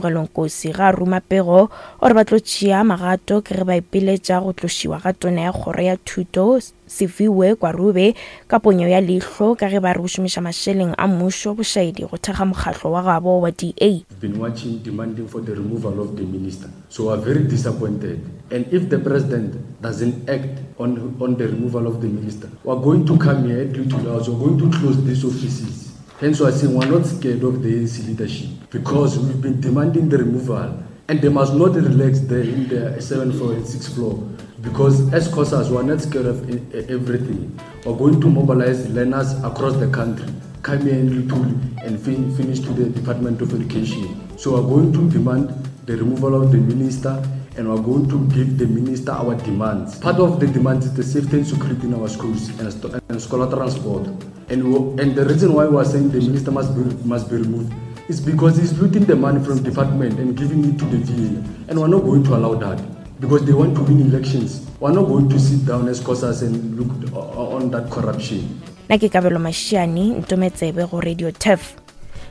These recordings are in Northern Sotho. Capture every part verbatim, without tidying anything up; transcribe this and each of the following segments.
Kamogelo Nkosi ga a ruma pego o re ba tlo tšea magato ke ge ba ipiletša go tlošiwa ga tona ya kgoro ya thuto Siviwe Gwarube ka ponyo ya leihlo ka ge ba re o šomiša mašeleng a mmušo bošaedi go thekga mokgatlo wa gabo wa D A. Been watching, demanding for the removal of the minister. So we are very disappointed. And if the president doesn't act on, on the removal of the minister, we are going to come here at Luthuli House, we are going to close these offices. Hence, we are saying we are not scared of the A N C leadership because we've been demanding the removal. And they must not relax there in the seventh floor and sixth floor because as COSAS, we are not scared of e- e- everything. We are going to mobilize learners across the country, come here in Luthuli and fin- finish to the Department of Education. So we are going to demand the removal of the minister and we are going to give the minister our demands. Part of the demands is the safety and security in our schools and, st- and scholar transport. And, we, and the reason why we are saying the minister must be, must be removed is because he's looting the money from department and giving it to the V A. And we're not going to allow that because they want to win elections. We're not going to sit down as COSAS and look on that corruption. Nna ke Kabelo Mašiane, Ntometsebe go Radio Turf.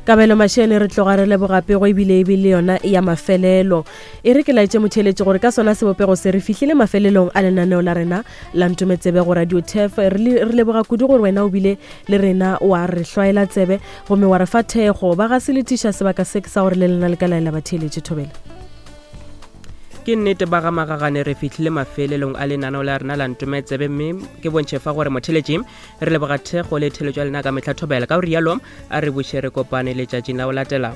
Kabelo Mašene, re tloga re leboga pego ebile ebile yona ya mafelelo. E re ke laetše motheeletše gore ka sona sebopego se re fihlile mafelelong a lenaneo la rena la Ntometsebe go Radio Turf. Re le- re leboga kudu gore wena o bile le rena, wa re hlwaela tsebe gomme wa re fa thekgo. Ba ga se letiša sebaka se ke sa gore le lena le ka laela batheeletše. Thobela. Ke nnete, ba ga Magagane, re fihlile mafelelong a lenaneo la rena la Ntometsebe, mme ke bontšhe fa gore motheletši re leboga thekgo le theletšo ya lena ka mehla. Thobela. Ka go rialo a re buše re kopane letšatšing la go latela.